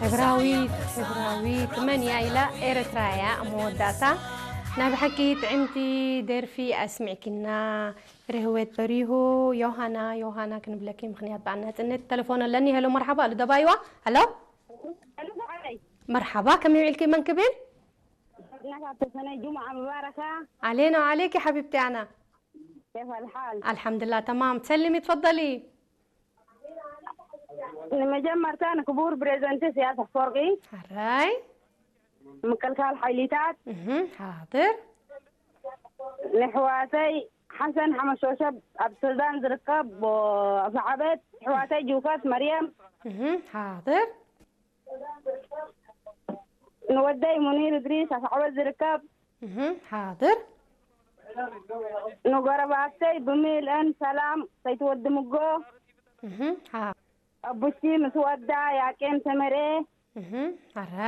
ሕብራዊት፣ ሕብራዊት፣ መን እያ ኢላ ኤርትራ እያ ኣብ መወዳእታ። ናይ ብሓቂ ጥዕምቲ ደርፊ ኣስሚዕኪና። ርህወት በሪሁ፣ ዮሃና፣ ዮሃና ክንብለኪ ምኽንያት በዓል ናጽነት። ተለፎን ኣለኒ። ሄሎ፣ መርሓባ፣ ኣሉ ደባይዋ። ሄሎ። ሄሎ፣ ሰዓረይ። መርሓባ፣ ከመይ ውዒልኪ? መን ክብል? ናታ ተሰነይ ጁምዓ ሙባረካ። علينا وعليك حبيبتي أنا. كيف الحال؟ الحمد لله تمام. تسلمي، تفضلي. ንመጀመርታ ንክቡር ፕሬዝደንት ኢሳያስ ኣፈወርቂ፣ ሕራይ። ምክልካል ሓይሊታት፣ እህ፣ ሓድር። ንሕዋተይ ሓሰን ሓመሾሸብ ኣብ ሱዳን ዝርከብ፣ ኣፍዓበት፣ ሕዋተይ ጅውካት መርየም፣ እህ፣ ሓድር። ንወደይ ሙኒር እድሪስ ኣፍዓበት ዝርከብ፣ እህ፣ ሓድር። ንጎረባብተይ ብምልአን ሰላም ሰይትወዲ ምጎ፣ እህ፣ ሓ- ኣቡቺ ምስ ወዳ ያቄም ሰመሬ፣ እህ፣ ሕራይ።